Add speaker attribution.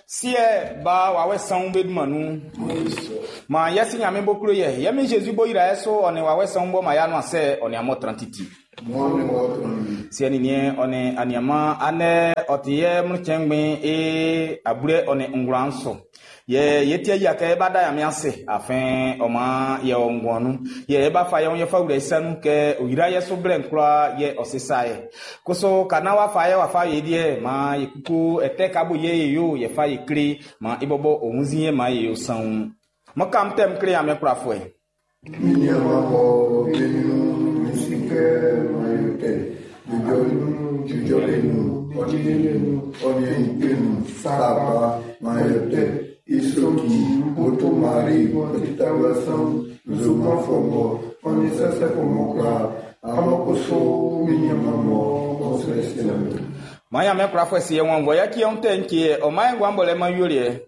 Speaker 1: Siɛ, Ba, Wawɛ Sanwun be dunman nun. Maan yɛ Si Nyanmiɛn b'ɔ klo ye, yɛ Min Jésus b'ɔ yra ye su, ɔ nin Wawɛ Sanwun b'ɔ man y'anuansɛ, ɔ nin amun tran titi. Siɛ nin niɛn, ɔ nin aniaman, andɛ ɔ ti yɛ mlɔntsɛn ngbɛn e ablɛ ɔ nin ngwlan'n su. Yɛ ye ti yia kɛ e ba da Nyanmiɛn ase, afin ɔ man yɛ o nguan nun. Yɛ e ba fa yɛ wun yɛ fa wlɛ i sa nun kɛ ɔ yra yɛ su blɛ'n kwlaa yɛ ɔ sisa yɛ. Kusu ka naan w'a fa yɛ w'a fa ye deɛ, maan ye kuku ɛtɛ ka bo yɛ ye yo yɛ fa ye kle, maan i bɔbɔ ɔ wunnzin yɛ maan ye yo sanwun. Mo kam tɛm kle Nyanmiɛn kwlafuɛ.
Speaker 2: Mi nianman mɔ be ɲrun'n, mi si kɛ m'an yo tɛ. Jujɔle nun, ɔ nin ɔ nin ikpe nun, sakpa, m'an yo tɛ. I sɔ'n ti, Oto Mari, ɔ ti tawla sanwun, nzue fɔ mɔ, ɔ nin sɛsɛfo mɔ kwlaa, amun kusu mi nianman mɔ ɔ srɛ srɛ mi.
Speaker 1: Maan Nyanmiɛn kwlafuɛ si ye wɔn vɔ yɛ kiɛ tɛ nkie ɔ man ye nguan bɔlɛ man yoliɛ.